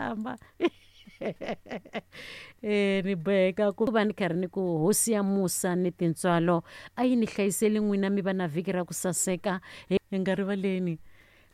hlamba. Ni boheka ku va ni karhi ni ku hosi ya musa ni tintswalo a yi ni hlayiseli n'wina mi va na vhiki ra ku saseka. Hi nga rivaleni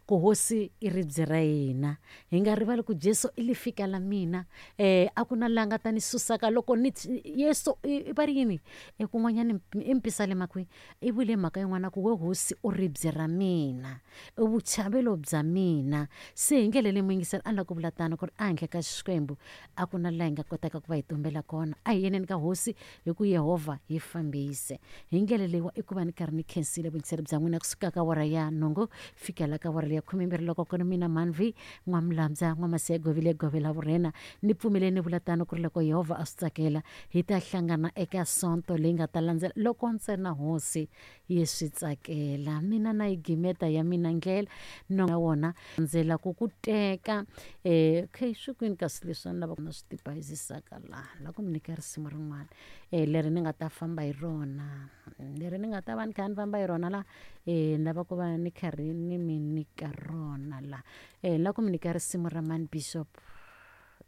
ku hosi i ribye ra hina, hi nga rivali ku Jesu i lifika la mina. A ku na la nga ta ni susaka loko ni Yesu i va ri yini kun'wanyana i mpisalema kwihi i vule mhaka yin'wana ku we hosi u ribye ra mina, i vuchavelo bya mina. Se hi ndlela leyi muyingiseri a ni lava ku vula tano ku ri ehandle ka Xikwembu a ku na laha hi nga kotaka ku va hi tumbela kona. A hi yeneni ka hosi hi ku Yehovha hi fambise. Hi ndlela leyiwa i ku va ni karhi ni khensile vuyingiseri bya n'wina kusuka ka awara ya nhungu fikela ka awara leya khumembirhi loko ku ri mina Mhanvi N'wamulambya N'wamasiya Govile Govela Vurhena. Ni pfumele ni vula tano ku ri loko Yehovha a swi tsakela hi ta hlangana eka Sonto leyi nga ta landzela loko ntsena Hosi yi swi tsakela. Mina na yi gimeta ya mina ndlela no na wona ndzela ku ku teka. Okay swi kwini kasi leswi a ni lava na swi tibayizisaka laha la ku mi nyika risimu rin'wana leri ni nga ta famba hi rona, leri ni nga ta va ni kha ni famba hi rona la ni lava ku va ni karhi ni mi nyika rona la. Ni lava ku mi nyika risimu ra Mani Bishop.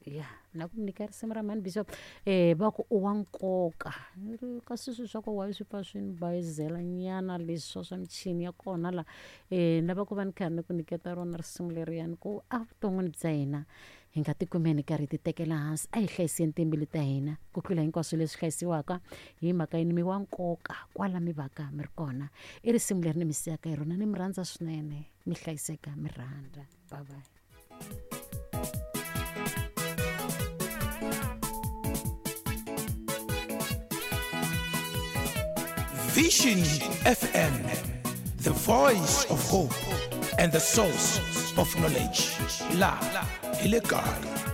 Ya na ku mi nyika risimu ra Mani Bishop va ku u wa nkoka kasi swilo swa ku why swi pfa swi ni bayizela nyana leswi swa michini ya kona la. Ni lava ku va ni karhi ni ku nyiketa rona risimu leriyani ku evuton'wini bya hina hi nga tikumeni karhi hi ti tekela hansi, a hi hlayiseni timbilu ta hina ku tlula hinkwaswo leswi hlayisiwaka hi mhaka yini mi wa nkoka kwala mi vaka mi ri kona. I risimu leri ni mi siyaka hi rona, ni mi rhandza swinene, mi hlayiseka mi rhandza. Bye bye. Vision FM, the voice of hope and the source of knowledge. La, hi le kaya.